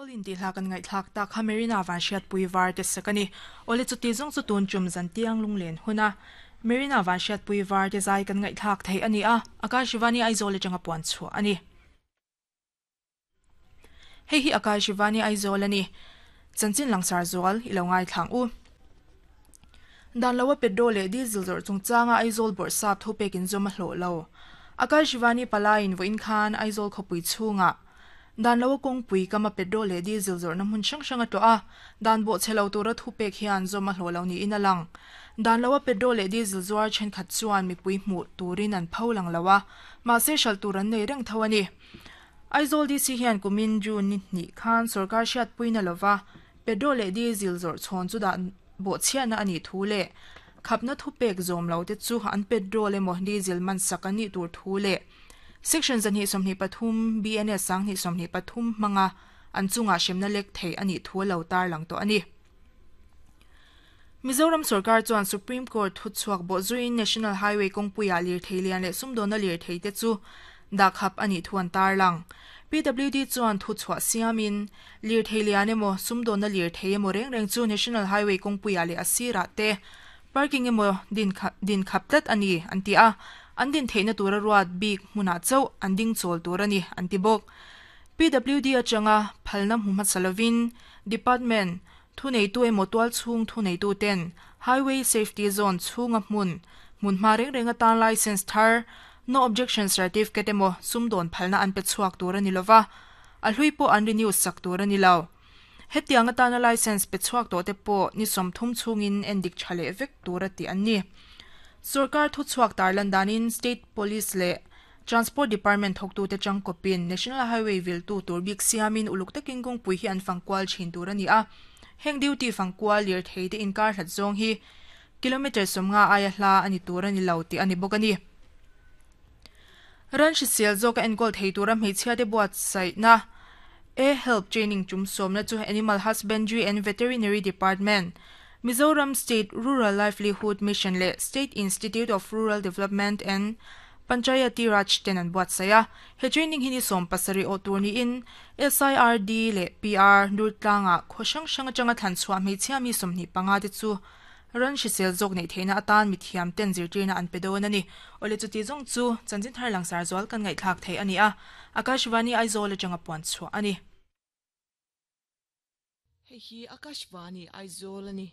All in tih hla kan ngaihthlak tak kha Marina van hriatpui var te sak a ni. Awle chuti zawng chu tun tum zan tiang lunglen hun a Marina van hriatpui var te zai kan ngaihthlak theih a ni a, Akashivani Aizawl atanga puan chhuah a ni. Hei hi Akashivani Aizawl a ni. Chanchin langsar zual i lo ngaithlang u. Dan loa petrol leh diesel zawrh chungchanga Aizawl bawrhsap thupek inzawm a hlawh lo. Akashivani palaiin vawiin khan Aizawl khawpui chhungah Dan loa kawngpui kama petrol leh diesel zawrhna hmun hrang hrang a tlawh a, dan bawh chhe lo tura thupek hian zawm a hlawh lo niin a lang. Dan loa petrol leh diesel zuar thenkhat chuan mipui hmuh turin an pho lang lo a, mahse hralh tur an nei reng tho a ni. Aizawl DC hian kumin June ni hnih khan sorkar hriatpuina lova petrol leh diesel zawrh chhawn chu dah bawh chhiatna a nih thu leh khapna thupek zawm lo te chu an petrol emaw diesel man sak an nih tur thu leh Section 223 BNS 223 hmanga an chungah hremna lek theih a nih thu a lo tarlang tawh a ni. Mizoram sorkar chuan Supreme Court thuchhuak bawhzuiin National Highway kawngpuiah lirthei lian leh sumdawnna lirthei te chu dahkhap a nih thu an tarlang. PWD chuan thuchhuah siamin lirthei lian emaw sumdawnna lirthei emaw reng reng chu National Highway kawngpuiah leh a sirah te Parking emaw din khap tlat a ni, an ti a. An din theihna tura ruat bik hmunah chauh an ding chawl tur a ni, an ti bawk. PWD atanga phalna hmu hmasa lovin Department thuneitu emaw tualchhung thuneituten Highway Safety Zone chhunga hmun hmunhma reng reng atan Licence thar, No Objection Certificate emaw sumdawn phalna an pe chhuak tur a ni lova, a hlui pawh an renew sak tur a ni lo. Hetiang atana licence pe chhuak tawh te pawh ni 30 chhungin en dik tha leh vek tur a tih an ni. Sorkar thuchhuak tarlan danin State Police leh Transport Department thawktute tangkawpin National Highway viltu tur bik siamin uluk takin kawngpui hi an fangkual thin tur a ni a. Heng duty fangkual lirthei te inkar hlat zawng hi kilometre 50 aia hla a ni tur a ni lo tih a ni bawk a ni. Ran hrisel zawka enkawl thei tura hmeichhiate buatsaihna A-Help Training tum sawmna chu Animal Husbandry and Veterinary Department, Mizoram State Rural Livelihood Mission leh State Institute of Rural Development and Panchayati Raj ten an buatsaih a. He training hi ni 17 awh tur niin SIRD leh PR Durtlangah khaw hrang hrang atanga thlan chhuah hmeichhia mi 25 te chu Ran hrisel zawk neih theihna atan mithiam ten zirtirna an pe dawn a ni. Awle chuti zawng chu chanchin thar langsar zual kan ngaihthlak theih a ni a, Akashvani Aizawl atanga puan chhuah a ni. Hei hi Akashvani Aizawl a ni.